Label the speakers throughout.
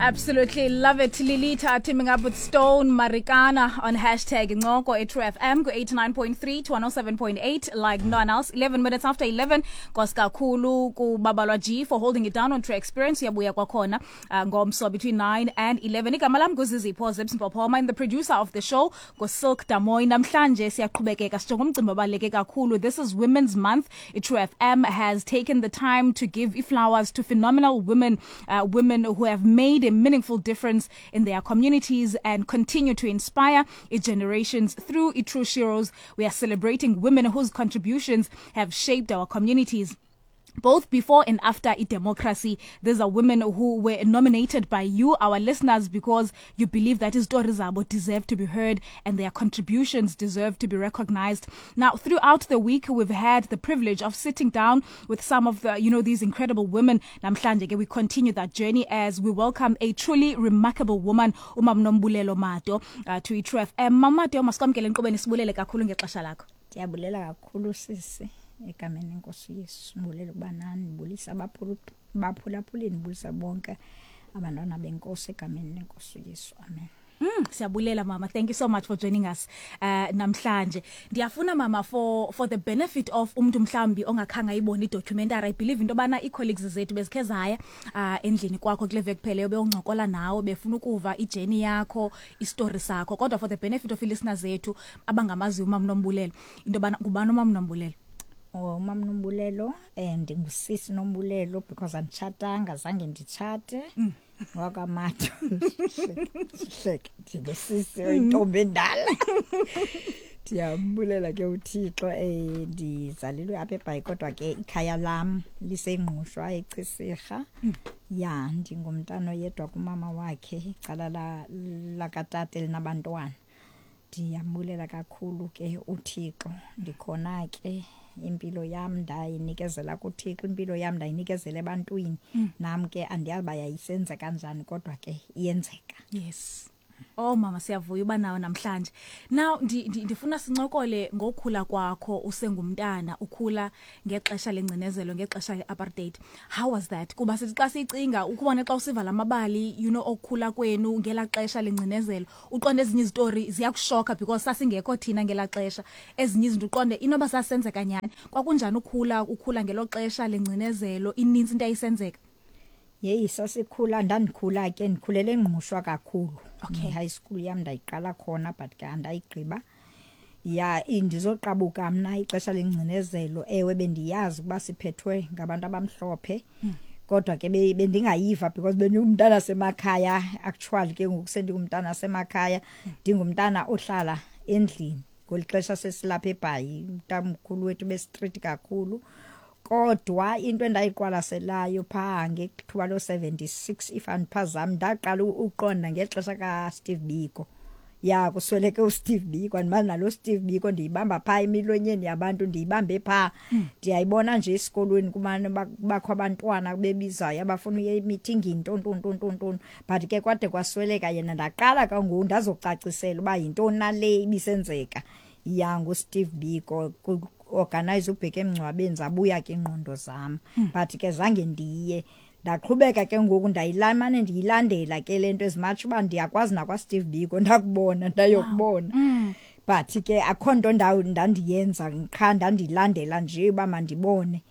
Speaker 1: Absolutely love it. Lilita teaming up with Stone Marikana on hashtag Incoko at True FM ku 89.3 to 107.8 like no one else. 11 minutes after 11. Nkosi kakhulu kubabalwa G for holding it down on True Experience. Uyabuya kwakhona ngomso between 9 and 11. Igama lam nguZizipho Zips Mpophoma and the producer of the show nguSilk Damoy. Namhlanje siyaqhubekeka sijonga umcimbi obaluleke kakhulu. This is Women's Month. True FM has taken the time to give flowers to phenomenal women, women who have made a meaningful difference in their communities and continue to inspire generations through True Sheroes. We are celebrating women whose contributions have shaped our communities, both before and after democracy. These are women who were nominated by you, our listeners, because you believe that izitori zabo deserve to be heard and their contributions deserve to be recognized. Now, throughout the week, we've had the privilege of sitting down with some of these incredible women. Namhlanje ke we continue that journey as we welcome a truly remarkable woman, uMam Nombulelo Mato, to iTrue FM. Mama Mato, masikwamkele enkqubeni, sibulele kakhulu ngexesha lakho.
Speaker 2: Ndiyabulela kakhulu, sisi, egameni lenkosi Yesu. Ndibulela ukuba nani, ndibulisa abaphulaphuli, ndibulisa bonke abantwana benkosi egameni lenkosi Yesu, amen.
Speaker 1: Siyabulela mama, thank you so much for joining us namhlanje. Ndiyafuna mama, for the benefit of umuntu mhlambi ongakhange ayibone idocumentary, I believe into bana ii-colleagues zethu bezikhe zaya endlini kwakho kule veki pheleyo, beyoncokola nawe, befuna ukuva ijourney yakho, istory sakho, kodwa for the benefit of ii-listeners zethu abangamaziyo umama Nombulelo, into bana ngubani umama Nombulelo?
Speaker 2: Oh, umama Nombulelo, ndingusisi Nombulelo because anditshatanga, zange nditshate. Wakwamato. Hleke, ndingusisi oyintombi endala. Ndiyambulela ke uThixo, ndizalelwe apha eBhayi, kodwa ke ikhaya lam liseNgqushwa, eCisirha. Ya, ndingumntana oyedwa kumama wakhe, icala lakatata elinabantwana. Ndiyambulela kakhulu ke uThixo. Ndikhona ke, impilo yam ndayinikezela kuThixo, impilo yam ndayinikezela ebantwini. Nam ke andiyazi uba yayisenza kanjani, kodwa ke iyenzeka.
Speaker 1: Yes. Oh mama, siyavuya uba nawe namhlanje. Now ndifuna sincokole ngokukhula kwakho usengumntana, ukhula ngexesha lengcinezelo, ngexesha le-apartheid. How was that? Kuba sithi xa sicinga ukubona xa usiva lamabali, okukhula kwenu ngela xesha lengcinezelo, uqonde ezinye izitori ziyakushoka because sasingekho thina ngela xesha. Ezinye izinto uqonde inoba sasenzeka nyhani. Kwakunjani ukhula ngelo xesha lengcinezelo, inintsi into ayisenzeka?
Speaker 2: Yeyi, sasikhula, ndandikhula ke, ndikhulele eNgqushwa kakhulu. High school yam ndayiqala khona, but ke andayigqiba. Ya, ndizoqabuka mna ixesha lengcinezelo, ewe bendiyazi ukuba siphethwe ngabantu abamhlophe. Kodwa ke bendingayiva because bendingumntana semakhaya, actually ke ngoku sendingumntana semakhaya, ndingumntana ohlala endlini. Ngeli xesha sesilapha eBhayi, umntamkhulu wethu bestrict kakhulu. Kodwa into endayiqwalaselayo phaa ngethuba lo-76, if andiphazami, ndaqala uqonda ngexesha kaSteve Biko. Ya, kusweleke uSteve Biko, andimazi nalo Steve Biko, ndiyibamba phaa emilonyeni yabantu, ndiyibambe phaa. Ndiyayibona nje esikolweni kumane kubakho abantwana bebizayo abafuna uya emithingini, ntoni, ntoni, ntoni, ntoni, ntoni. But ke kwade kwasweleka yena, ndaqala ke ngoku ndazocacisela uba yintoni nale ibisenzeka. Ya, nguSteve Biko, organize ubheke emngcwabeni, zabuya ke ingqondo zam. But ke zange ndiye. Ndaqhubeka ke ngoku ndayilamane ndiyilandela ke le nto, as much uba ndiyakwazi nakwaSteve Biko, ndakubona, ndayokubona. But ke akho nto ndandiyenza, qha ndandilandela nje uba mandibone.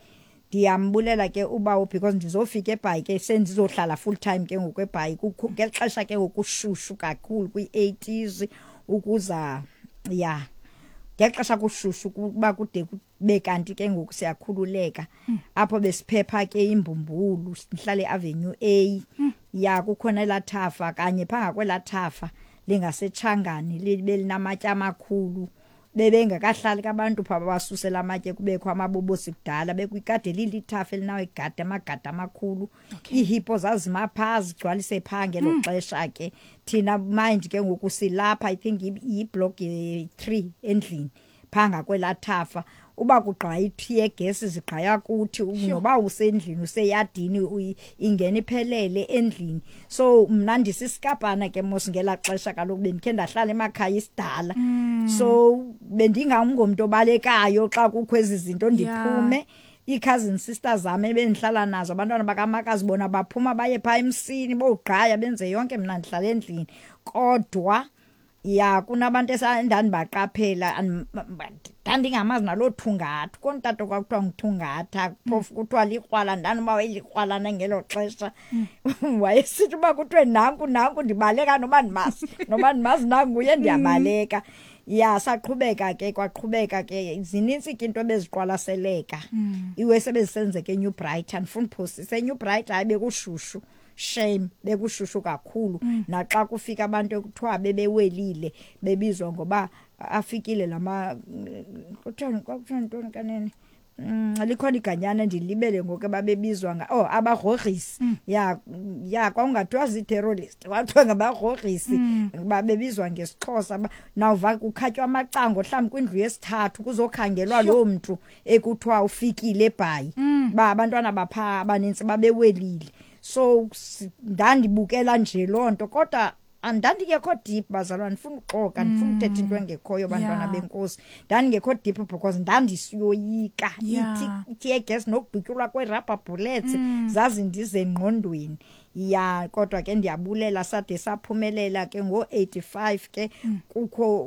Speaker 2: Ndiyambulela ke ubawo because ndizofika eBhayi ke sendizohlala full time ke ngoku eBhayi, ngexesha ke ngoku kushushu kakhulu kwi-80s ukuza, ya, ngexesha kushushu kuba kude kube kanti ke ngoku siyakhululeka. Apho besiphepha ke imbumbulu, sihlale Avenue A. Ya, kukhona elaa thafa kanye phaa ngakwelaa thafa lingaseTshangani, libe linamatye amakhulu. Bebengakahlali ke abantu phaa, babasusela amatye, kubekho amabobosi kudala, bekwikade lilithafa elinawo igadi, amagadi amakhulu. Iihippo zazima phaa, zigcwalise phaa ngelo xesha ke. Thina mind ke ngoku silapha, I think yiblock ye-3 endlini phaa ngakwelaa thafa. Uba kugqaya i-tear gas zigqaya kuthi, noba usendlini useyadini, ingena iphelele endlini. So mna ndisisikapana ke mos ngelaa xesha, kaloku bendikhe ndahlala emakhaya isidala. So bendingangomntu obalekayo xa kukho ezi zinto, ndiphume. Ii-cousin sisters zam ebendihlala nazo, abantwana bakamakazi, bona baphuma baye phaa emsini, bowugqaya, benze yonke, mna ndihlala endlini. Kodwa ya, kunabantu endandibaqaphela, ndandingamazi naloo thungatha kontata kwakuthiwa nguthungatha, phofu kuthiwa likrwala. Ndanoba wayelikrwalana ngelo xesha. Wayesithi uba kuthiwe nanku nanku, ndibaleka, noba ndimazi, noba ndimazi nanguye, ndiyabaleka. Ya, saqhubeka ke, kwaqhubeka ke, zinintsi ke into ebeziqwalaseleka iwe sebezisenzeka eNew Brighton. Ndifuna uphosisa, eNew Brighton hayi, bekushushu shame, bekushushu kakhulu. Naxa kufika abantu ekuthiwa bebewelile, bebizwa ngoba afikile lama, kuthiwa, kwakuthiwa ntoni kanene? Likhona iganyana ndilibele ngoku ababebizwa nga, oh, abagrogrisi. Ya, kwawungathiwa zii-terrorist, kwathiwa ngabagrogrisi, babebizwa ngesiXhosa. Nawuva kukhatywa amacango mhlawumbi kwindlu yesithathu, kuzokhangelwa loo mntu ekuthiwa ufikile eBhayi, ba abantwana baphaa abanintsi babewelile. So ndandibukela nje loo nto, kodwa andandingekho deep, bazalwane. Ndifuna uxoka, ndifuna uthetha into engekhoyo, bantwana benkosi. Ndandingekho deep because ndandisiyoyika i-tear gas nokudutyulwa kwee-rubber bullets, zazindize engqondweni. Ya, kodwa ke ndiyabulela, sade saphumelela ke ngo-85 ke. Kukho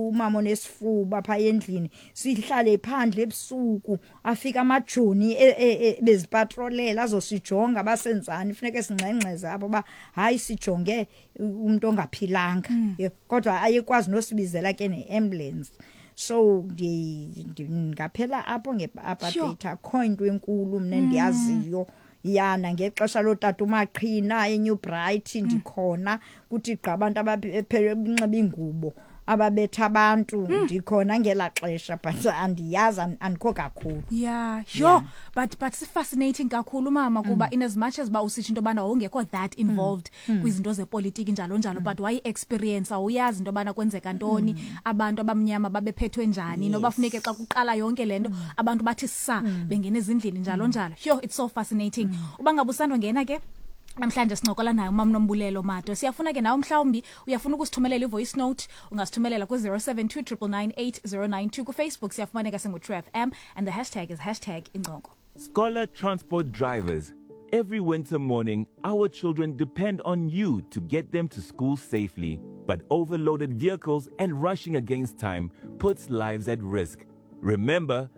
Speaker 2: umama onesifuba phaa endlini, sihlale phandle ebusuku, afika amajoni bezipatrolela, azosijonga basenzani, funeke singxengxeze apho uba hayi, sijonge umntu ongaphilanga. Kodwa ayekwazi nosibizela ke ne-ambulance. So ngaphela apho nge-apartheid, akho into enkulu mna endiyaziyo. Yana, ngexesha lootata uMaqhina eNew Bright, ndikhona kuthi gqa abantu ababenxiba iingubo ababetha abantu, ndikhona ngelaa xesha, but andiyazi, andikho kakhulu.
Speaker 1: Yeah, sure, but si-fascinating kakhulu, mama, kuba in as much as ba usitsho into yobana wawungekho that involved kwizinto zepolitiki njalo njalo, but wayi-experience, awuyazi into yobana kwenzeka ntoni, abantu abamnyama babephethwe njani, noba funeke xa kuqala yonke le nto abantu bathi sa bengena ezindlini njalo njalo. Yho, it's so fascinating. Uba ngabe usandongena ke namhlanje, sincokola naye umama Nombulelo Mato. Siyafuna ke nawe, mhlawumbi uyafuna ukusithumelela i-voice note, ungasithumelela ku-072 999 8092. KuFacebook siyafumaneka singu-True FM and the hashtag is #incoko.
Speaker 3: Scholar transport drivers, every winter morning, our children depend on you to get them to school safely. But overloaded vehicles and rushing against time puts lives at risk. Remember,